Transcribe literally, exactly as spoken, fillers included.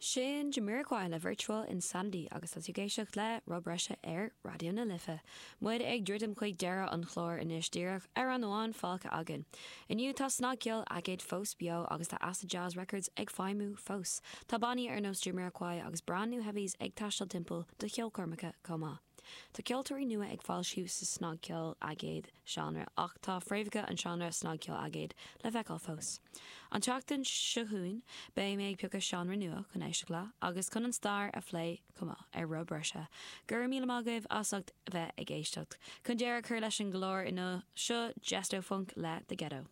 Sin Jamiroquai le Virtual Insanity agus tá tú ag éisteacht le Rob Breise ar Raidió na Life. Muid ag druidim chuig deireadh an chláir anois díreach amhrán amháin fágtha againn. Inniu tá snagcheol aigéid fós beo agus tá Acid Jazz Records ag feidhmiú fós. Tá bannaí ar nós Jamiroquai agus Brand New Heavies ag taisteal timpeall do cheolchoirmeacha chomh maith. Tá ceoltóirí nua ag foilsiú sa snagcheol aigéid seánra ach tá fréamhacha an seánra snagcheol aigéid le feiceáil fós. An tseachtain seo chugainn beidh mé ag piocadh seánra nua chun éisteacht le agus chun an stair a phlé chomh maith ar Rob Breise. Gur mí agaibh as ucht bheith ag éisteacht. Chun deireadh a chur leis an gclár inniu seo Jestofunk le The Ghetto.